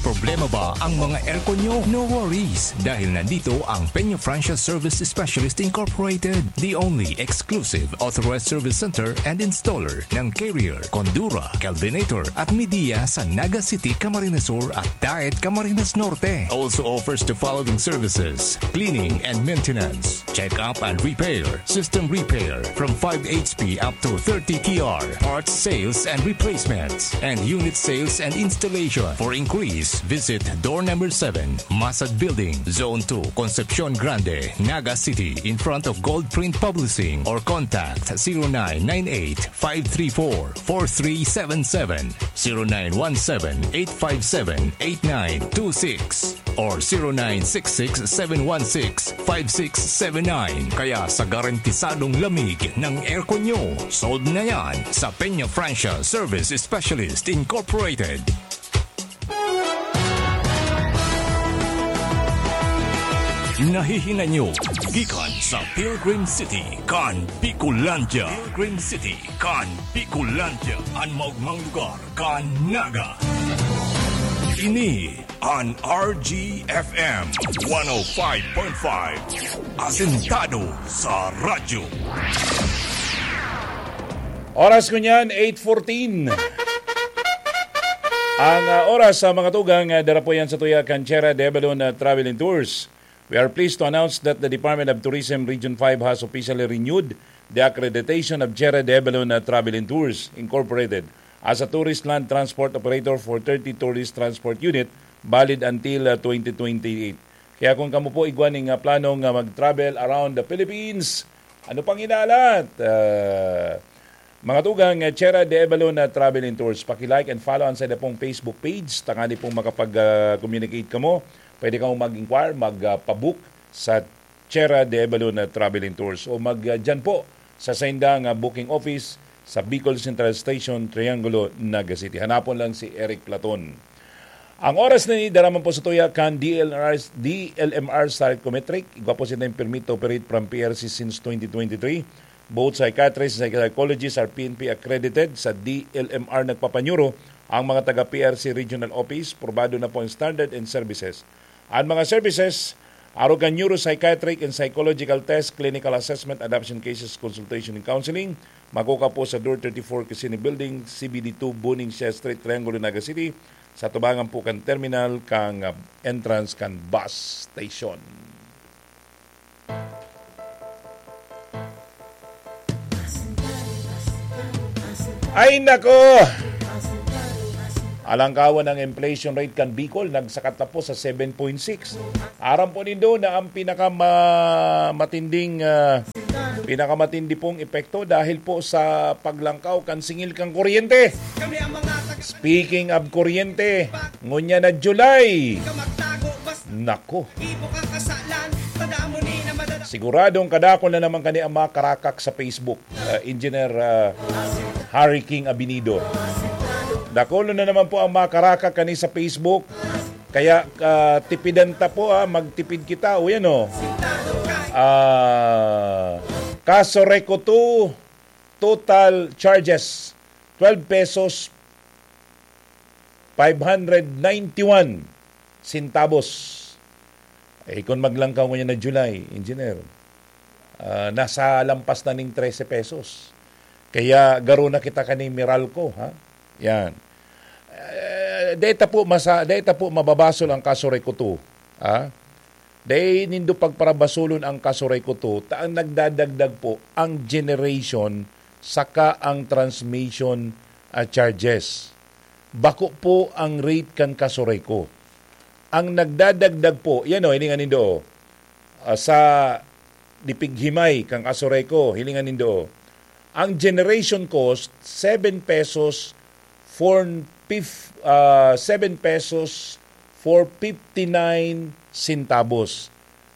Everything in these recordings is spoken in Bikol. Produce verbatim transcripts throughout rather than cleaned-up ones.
Problema ba ang mga aircon nyo? No worries, dahil nandito ang Peña Franchise Service Specialist Incorporated, the only exclusive authorized service center and installer ng Carrier, Condura, Kelvinator at Midea sa Naga City, Camarines Sur at Daet, Camarines Norte. Also offers the following services: cleaning and maintenance, check-up and repair, system repair from five H P up to thirty T R, parts sales and replacements, and unit sales and installation. For inquiries, visit door number seven, Masad Building, Zone two, Concepcion Grande, Naga City, in front of Gold Print Publishing, or contact zero nine nine eight, five three four, four three seven seven, zero nine one seven, eight five seven, eight nine two six, or zero nine six six, seven one six, five six seven nine. Kaya sa garantisadong lamig ng aircon nyo, sold na yan sa Peña Francia Service Specialist Incorporated. Nahihinay nyo gikan sa Pilgrim City kan Bicolandia. Pilgrim City kan Bicolandia, an maogmang lugar kan Naga. Ini an R G F M one oh five point five, asentado sa radyo. Oras ko niyan, eight fourteen. Ang, ah, oras sa mga tugang, ah, dara po yan sa tuya kan Sierra de Avalon, ah, Travel and Tours. We are pleased to announce that the Department of Tourism Region five has officially renewed the accreditation of Sierra de Avalon, ah, Travel and Tours Incorporated as a tourist land transport operator for thirty tourist transport unit valid until, ah, twenty twenty-eight. Kaya kung kamo po igwa ning, ah, plano nga mag-travel around the Philippines, ano pang inaalat? Ah, mga tugang, eh, Sierra de Avalon na Travel and Tours. Paki-like and follow ang saida pong Facebook page. Tangani pong makapag, ah, communicate kamo. Pwede kamo mag-inquire, mag, ah, pabook sa Sierra de Avalon na Travel and Tours. O mag, ah, dyan po sa saindang, ah, booking office sa Bicol Central Station, Triangulo, Naga City. Hanapon lang si Eric Platon. Ang oras na ini, dara man po sa tuya kan D L R, D L M R Psychometric. Igwa po sinda yung permit to operate from P R C since twenty twenty-three. Both psychiatrists and psychologists are P N P accredited. Sa D L M R nagpapanyuro ang mga taga P R C Regional Office. Probado na po ang standard and services. Ang mga services, arog kan neuropsychiatric and psychological test, clinical assessment, adoption cases, consultation and counseling, makukuha po sa Door thirty-four Casino Building, C B D two, Buning Siya Street, Triangulo, Naga City, sa tubangan po kan terminal kan, ah, entrance kan bus station. Ay, nako! Alangkawan ang inflation rate kan Bicol, nagsakat na po sa seven point six. Aram po nindo na ang pinakama-, matinding, ah, pinakamatindi pong epekto dahil po sa paglangkaw kan singil kan kuryente. Speaking of kuryente, ngunyan na July. Nako. Siguradong kadakol na naman kani ang mga karakak sa Facebook, ah, Engineer, ah, Harry King Abinido. Dakol na naman po ang mga karakak kani sa Facebook. Kaya, ah, tipidan ta po, ah, magtipid kita. O yan, oh. Ah, Casureco two, total charges, twelve pesos, five hundred ninety-one centavos. Eh, kung maglangkaw ngunyan na July, Engineer, ah, nasa lampas na ning trese pesos. Kaya garo na kita kani Meralco, ha? Yan. Eh, deta po masa-, deta po mababasol ang Casureco two, ha? Dai nindo pagparabasolon ang Casureco two, ta ang nagdadagdag po ang generation saka ang transmission, ah, charges. Bako po ang rate kan Casureco. Ang nagdadagdag po, yan o, hilingan nindo, o. Ah, sa dipighimay kan Casureco, hilingan nindo, o. Ang generation cost, seven pesos, four fif-, ah, seven pesos, four fifty-nine centavos.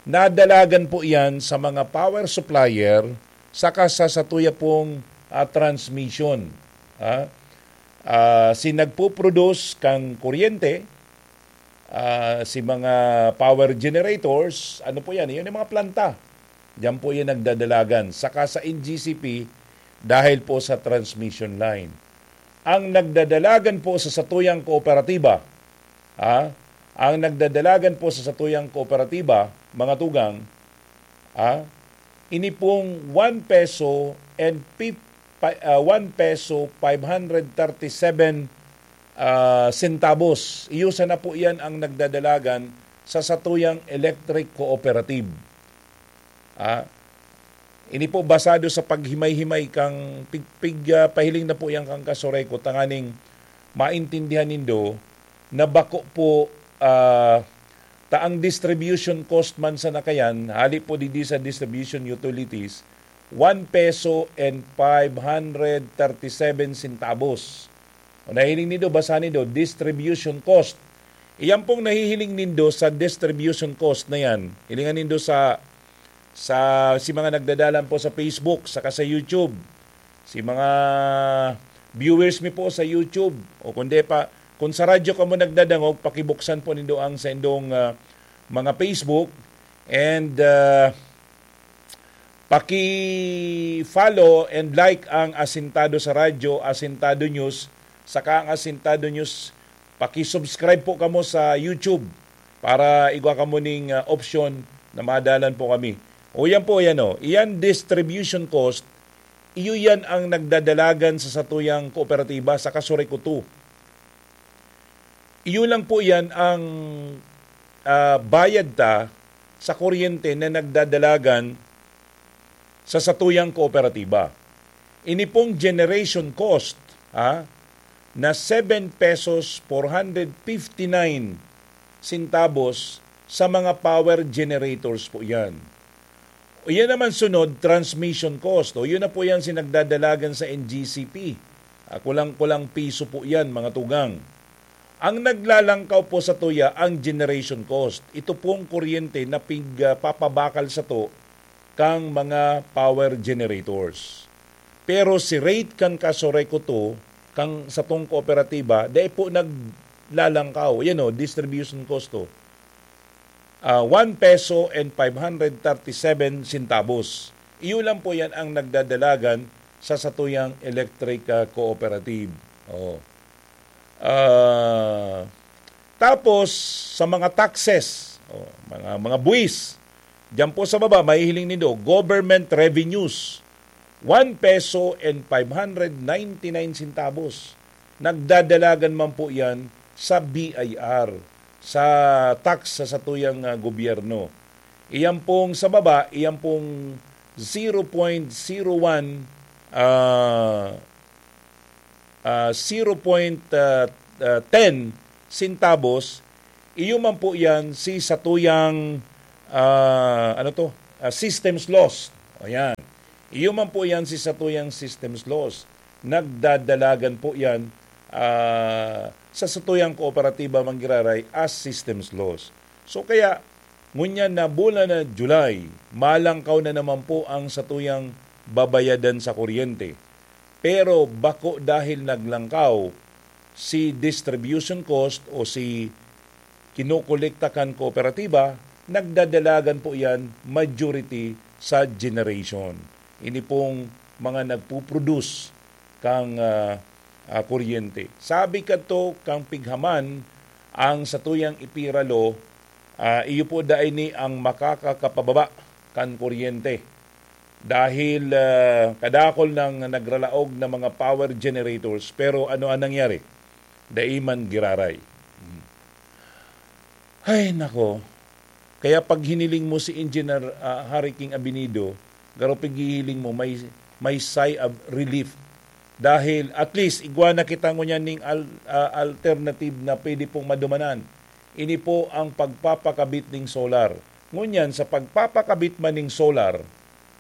Nadalagan po yan sa mga power supplier saka sa satuya pong, ah, transmission. Ah, ah, si nagpo-produce kan kuryente, ah, si mga power generators, ano po yan? Yun yung mga planta. Diyan po yan nagdadalagan. Saka sa N G C P, dahil po sa transmission line. Ang nagdadalagan po sa satuyang kooperatiba, Ah, ang nagdadalagan po sa satuyang kooperatiba, mga tugang, ah, ini pong one peso and fif-, pa-, ah, one peso five hundred thirty-seven, ah, centavos. Iyo sana po iyan ang nagdadalagan sa satuyang electric cooperative. Ah, ini po basado sa paghimay-himay kang pig-, pig-, ah, pahiling na po yan kang Kasoreko, tanganing maintindihan nindo na bako po, ah, ta ang distribution cost man sa nakayan, hali po digdi sa distribution utilities, one peso and five hundred thirty-seven centavos. O nahiling nindo, basa nindo, distribution cost. Iyan pong nahihiling nindo sa distribution cost na yan. Hilingan nindo sa, sa, si mga nagdadalan po sa Facebook, saka sa YouTube. Si mga viewers mi po sa YouTube, o kundi pa, kung sa radyo kamo nagdadangog, pakibuksan po nindo ang sa indong, ah, mga Facebook. And, ah, paki-follow and like ang Asintado sa Radyo, Asintado News, saka ang Asintado News. Paki-subscribe po kamo sa YouTube para igwa kamo ning, ah, option na madalan po kami. O yan po, yan o. Iyan distribution cost, iyo yan ang nagdadalagan sa satuyang kooperatiba sa Kasoreko two. Iyo lang po yan ang, ah, bayad ta sa kuryente na nagdadalagan sa satuyang kooperatiba. Ini pong generation cost, ah, na seven pesos four hundred fifty-nine centavos sa mga power generators po yan. O yan naman sunod, transmission cost. O yun na po yan si nagdadalagan sa N G C P. Ah, kulang-kulang piso po yan, mga tugang. Ang naglalangkaw po sa tuya ang generation cost. Ito pong kuryente na pig-, ah, papabakal sa to kang mga power generators. Pero si rate kan Kasoreko two, kang satong kooperatiba, dai po naglalangkaw. Yan o, distribution cost to. Ah, one peso and five hundred thirty-seven centavos. Iyo lang po yan ang nagdadalagan sa satuyang electric, ah, cooperative. Oh. Ah, tapos, sa mga taxes, oh, mga, mga buwis, diyan po sa baba, mahihiling nindo, government revenues, one peso and five hundred ninety-nine centavos. Nagdadalagan man po yan sa B I R, sa tax sa satuyang, ah, gobyerno. Iyan pong sa baba, iyan pong zero point zero one, ah, ah, zero point, ah, ah, ten centavos, iyo man po yan si satuyang, ah, ano to? Ah, systems loss. O yan. Iyo man po yan si satuyang systems loss. Nagdadalagan po yan, ah, sa satuyang kooperatiba manggiraray as systems loss. So kaya, ngunyan na bulan na July, malangkaw na naman po ang satuyang babayadan sa kuryente. Pero bako dahil naglangkaw si distribution cost o si kinokolekta kan kooperatiba, nagdadalagan po yan majority sa generation. Ini pong mga nagpuproduce kang, ah, ah, kuryente. Sabi kadto kang pighaman, ang satuyang ipira law, ah, iyo po dai ni ang makakakapababa kan kuryente. Dahil, ah, kadakol nang nagralaog na mga power generators, pero ano ang nangyari? Dai man giraray. Hmm. Ay, nako. Kaya pag hiniling mo si Engineer, ah, Harry King Abinido, garo paghihiling mo, may, may sigh of relief. Dahil at least, igwa na kita ngunyan ning al-, ah, alternative na pwede pong madumanan. Ini po ang pagpapakabit ning solar. Ngunyan, sa pagpapakabit man ning solar,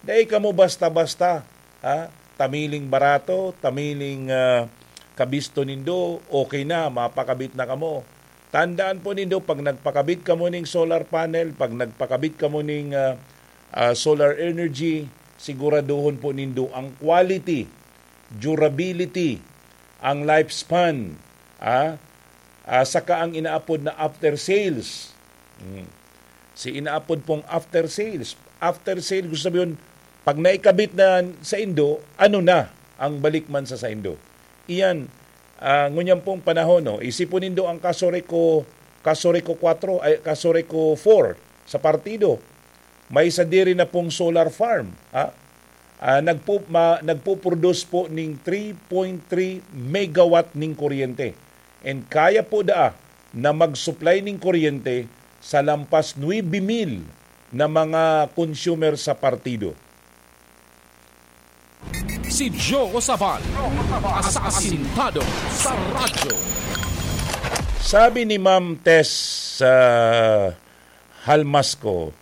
dai kamo basta-basta, ha? Tamiling barato, tamiling, ah, kabisto nindo, okay na, mapakabit na kamo. Tandaan po nindo, pag nagpakabit kamo ning solar panel, pag nagpakabit kamo ning, ah, ah, solar energy, siguraduhon po nindo ang quality, durability, ang lifespan, ah, ah, saka ang inaapod na after sales. Hmm. Si inaapod pong after sales. After sale, gusto sabihin, pag naikabit na sa indo, ano na ang balik man sa saindo? Iyan, ah, ngunyan pong panahon, no? Isipon nindo ang Kasoreko, Casureco four, ay, Casureco four sa partido. May sadiri na pong solar farm, ha? Ah, nagpu-, ma-, nagpuproduce po ning three point three megawatt ning kuryente. And kaya po daa na mag-supply ning kuryente sa lampas nuebe mil na mga consumer sa partido. Si Joe Sabal, asasintado sa radyo. Sabi ni Ma'am Tess sa Halmasco,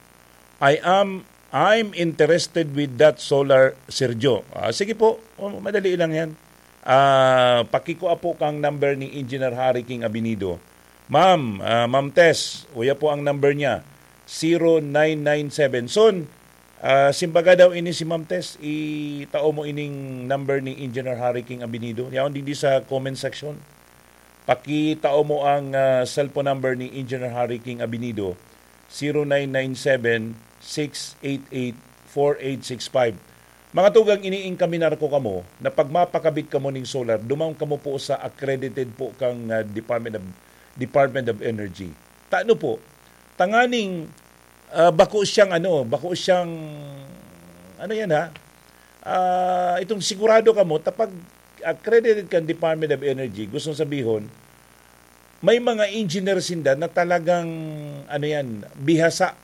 "I am, I'm interested with that solar, Sir Joe." Ah, sige po, oh, madali lang yan. Ah, pakikua po kang number ni Engineer Harry King Abinido. Ma'am, ah, Ma'am Tess, uya po ang number niya, zero nine nine seven. Son, ah, simbaga daw ini si Ma'am Tess, itao mo ining number ni Engineer Harry King Abinido. Yaon digdi sa comment section. Pakitao mo ang, ah, cellphone number ni Engineer Harry King Abinido, zero nine nine seven, six eight eight, four eight six five. Mga tugang, iniingkaminar ko kamo na pag mapakabit kamo ning solar, duman kamo po sa accredited po kang, ah, Department of, Department of Energy. Tano po, tanganing, ah, bako siyang ano, bako siyang, ano yan ha? Ah, itong sigurado kamo, tapag accredited kang Department of Energy, gustong sabihon, may mga engineer sinda na talagang, ano yan, bihasa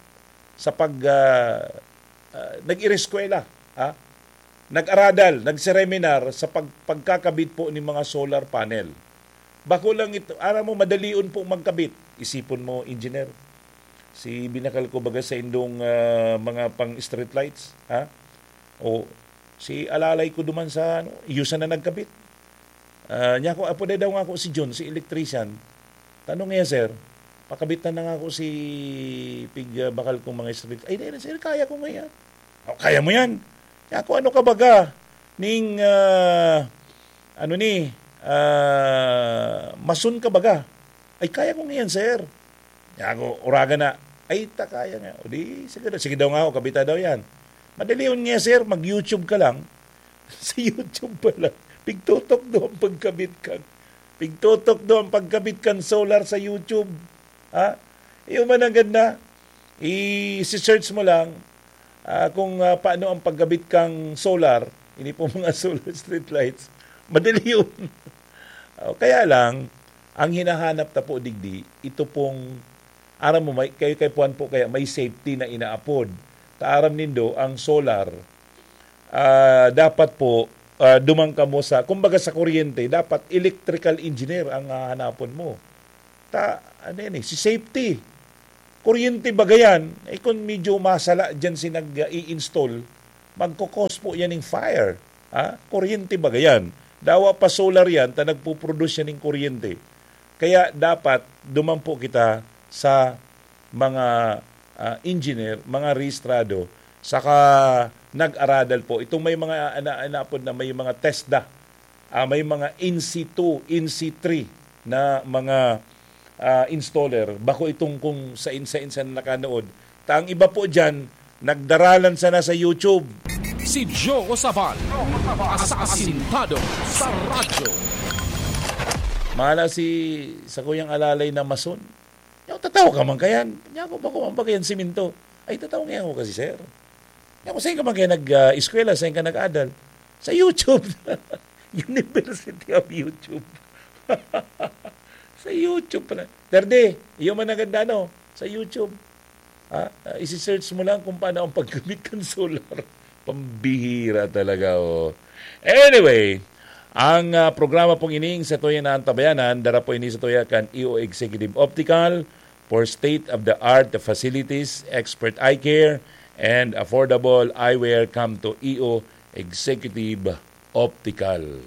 sa pag, ah, ah, nag-ireskwela, ha? Nag-aradal, nagsereminar sa pag-, pagkakabit po ni mga solar panel. Bako lang ito, aram mo, madalion po magkabit. Isipon mo, engineer, si binakal ko baga sa indong, ah, mga pang street lights, ha? O si alalay ko duman sa, ano, iyo sana nagkabit. Ah, niya ko, apo daw nga ako si John, si electrician. Tanong niya, sir, pakabitan na nga ako si pig, ah, bakal kong mga street. Ay, dahil, sir, kaya ko ngayon. O, kaya mo yan. Niya ako, ano ka baga? Ning, ah, ano ni, ah, mason ka baga? Ay, kaya ko ngayon, sir. Niya ako, uraga na. Ay, ta kaya nga. O di, sige, daw- sige daw nga ako, kabita daw yan. Madali yun nga, sir, mag-YouTube ka lang. Sa YouTube pa lang. Pigtutok do ang pagkabit kan. Pigtutok do ang pagkabit kan solar sa YouTube. Ha? Iyo man ang ganda. I-search mo lang, ah, kung, ah, paano ang pagkabit kang solar. Ini po mga solar street lights. Madali yun. O, kaya lang, ang hinahanap ta po digdi, ito pong, aram mo, may, kayo kay Puan po kaya may safety na inaapod. Ta aram nindo, ang solar, ah, dapat po, ah, duman kamo sa, kumbaga sa kuryente, dapat electrical engineer ang hahanapon mo. Ta, ano yan eh, si safety. Kuryente baga yan, eh kung medyo masala dyan si nag-i-install, magkakos po yan ng fire. Ha? Kuryente baga yan. Dawa pa solar yan, ta nagpuproduce yan ng kuryente. Kaya dapat duman po kita sa mga, ah, engineer, mga rehistrado, saka nag-aradal po. Itong may mga ana-, anapod na may mga TESDA, ah, may mga N C two, N C three na mga, ah, installer. Bako itong kung sain-sain sa nakanood. Ta ang iba po dyan, nagdaralan sana sa YouTube. Si Joe Sabal, asasintado sa radyo. Mahala si sa kuyang alalay na mason. Yung tatawa ka man kayan. Niya ako, bako man ba kayan siminto? Ay, tatawa nga ako kasi, sir. Niya ako, saan ka man kaya nag-eskwela? Saan ka nag-adal? Sa YouTube. University of YouTube. Sa YouTube pala. Terde, iyo man ang ganda, no? Sa YouTube. Ha? Ah, isi-search mo lang kung paano ang paggamit kan solar. Pambihira talaga, oh. Anyway, ang, ah, programa pong ining sa tuya na antabayanan, dara po ini sa tuya kan E O Executive Optical for state-of-the-art facilities, expert eye care, and affordable eyewear. Come to E O Executive Optical.